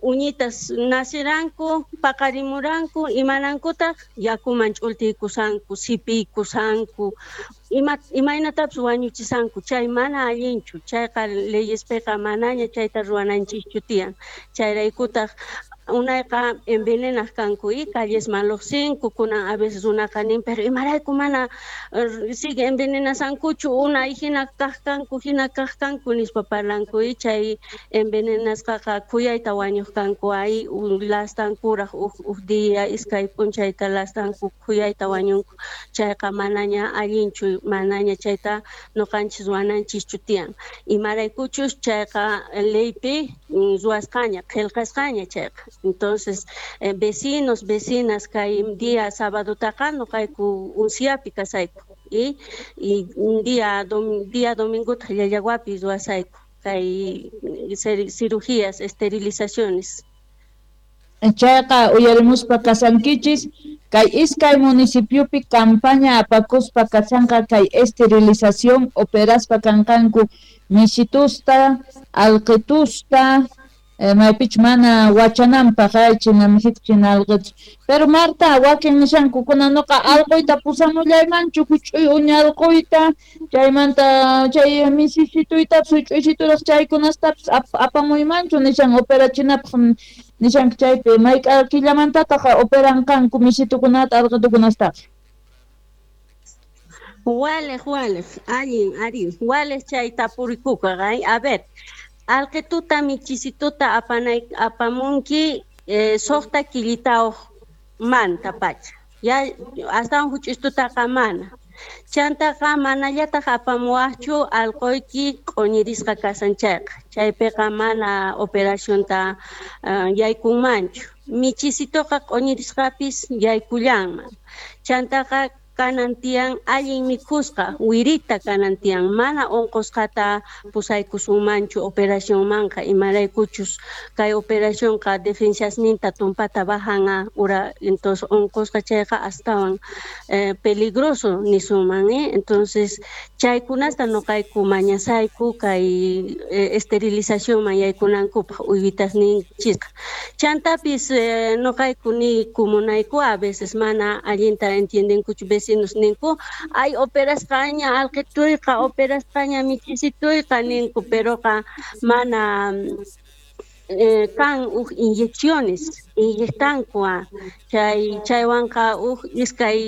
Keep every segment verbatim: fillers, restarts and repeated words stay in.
Uñitas naciranku, paqarimuranku, imanankutaq yakuman ch'ultiykusanku, sipiykusanku, ima imaynatapis wañuchisanku, chay mana allinchu, chayqa leyespiqa manaña chayta ruwananchischu tiyan. Chayraykutaq unayqa envenenaq kanku y callesman luqsinku, kunan a veces runaqa nin, pero imarayku mana sigue envenenasankuchu, unay hina kaq kanku, hina kaq kanku nispa parlanku y chay envenenasqaqa khuyayta wañuq kanku, ay lastankuraq uj uj día iskay p'unchayta lastanku khuyayta wañunku, chayqa manaña allinchu, manaña chayta nuqanchis ruwananchischu tiyan, imaraykuchus chayqa leypi ruwasqaña, qillqasqaña chayqa. Entonces, eh, vecinos, vecinas, kay día sábadotaqa nuqayku Unciapi kasayku y, y día, dom, día domingota Llallaguapi ruwasayku kay cirugías, esterilizaciones. Chayqa uyarimuspa kasankichis kay iskay municipiopi campaña apakuspa kasanqa kay esterilización operaspa kanqanku misitusta, alqitusta, eh, maypich mana wachananpaq ay china misito china alqitus. Pero Marta, wakin nishanku kunanuqa alquyta pusamullaymanchu huch'uy uña alquyta, chaymanta chay misisituytapis huch'uysituraq chaykunastapis ap apamuymanchu nishan operachinapaq nishanku chaypi mayk'a killamantataq operanqanku misitukunata alqitukunastaqa. Waleq, waleq, allin, ari, waleq chay tapurikuqa, ay, a ver, alqituta michisituta apanay apamunki eh, suqta killitawq manta pacha, ya astawan huch'ustutaqa mana. Chantaqa manallataq apamuwaqchu alquyki q'uñirisqa kasan chayqa, chaypiqa mana operacionta uh, yaykunmanchu. Michisituqa q'uñirisqapis yaykullanman. Chantaqa kanan tiyan allin mikhusqa, wirita kanan tiyan, mana unqusqata pusaykusunmanchu operacionmanqa, imaraykuchus kay operacionqa defensasninta tumpata bajan ura, entonces unqusqa chayqa astawan eh, peligroso nisunman, eh? Entonces chaykunasta nuqayku mañasayku kay eh, esterilizacionman yaykunankupaq uywitasninchisqa. Chantapis eh, nuqayku niyku munayku a veces mana allinta entiendenkuchu vecinos ninku, ay operasqaña alqituyqa, operasqaña michisituyqa ninku, peroqa mana eh, kan uj inyecciones inyectanku chay chaywanqa uj iskay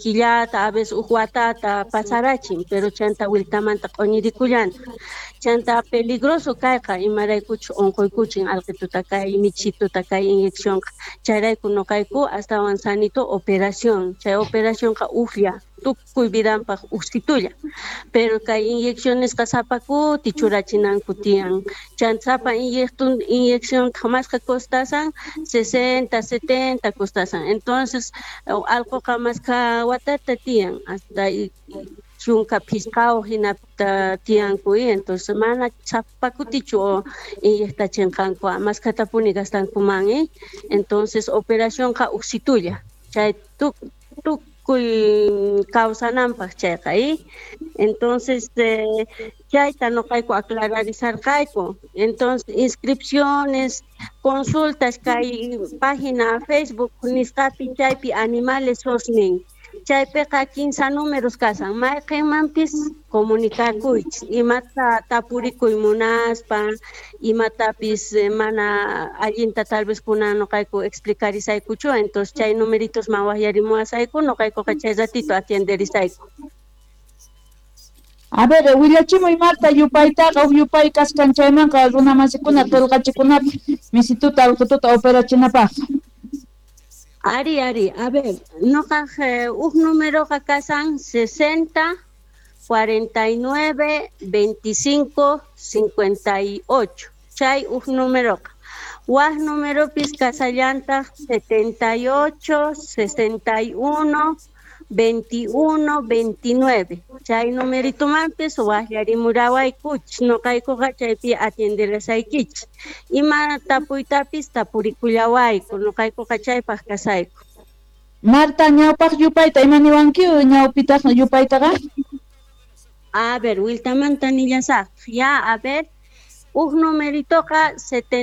killata a veces uj watata pasarachin, pero chanta wiltamanta q'uñirikullantaq. Chanta peligroso kayqa imaraykuchus unquykuchin alqituta kay michituta kay inyeccionqa, chayrayku nuqayku astawan sanito operación, chay operacionqa ujlla tukuy vidanpaq ujsitulla, pero kay inyeccionesqa sapa kuti churachinanku tiyan, chanta sapa inyección mashqa costasan sesenta, setenta costasan, entonces alquqa mashka watata tiyan hasta chunka phisqawq hinata tiyanku, entonces mana sapa kutichu inyectachinqanku, mashkhatapuni gastankuman, eh? Entonces operacionqa ujsitulla chay tukuy kawsananpaq chayqa, eh? Entonces eh, chayta nuqayku aclararisarqayku. Entonces inscripciones, consultas kay página Facebook nisqapi chaypi animales sosnin, chaypiqa kinsa números kasan, mayqinmanpis comunicakuychis imata tapurikuy munaspa, imatapis mana allinta tal vez kunan nuqayku explicarisaykuchu, entonces chay numeritosman waqyarimuwasayku, nuqaykuqa chay ratito atienderisayku. A ver, willachimuy Marta yupaytaqa, uj yupay kasqan chaymanqa runamasikuna qillqachikunapaq misituta alqituta operachinapaq. Ari, ari, a ver, nuqaq uj numeroqa kasan sesenta, cuarenta y nueve, veinticinco, cincuenta y ocho, chay uj numeroqa. Waj numeropis kasallantaq setenta y ocho, sesenta y uno, veintiuno, veintinueve. Chay numeritumanpis waqllarimurawaykuchis, nuqaykuqa chaypi atienderasaykichis. Ima tapuytapis tapurikullawayku, nuqaykuqa chaypaq kasayku. Marta, ñawpaq yupayta ima niwanki ñawpitaq yupaytaqa? A ver, wiltamanta nillasaq. Ya, a ver, uj numeritoqa setenta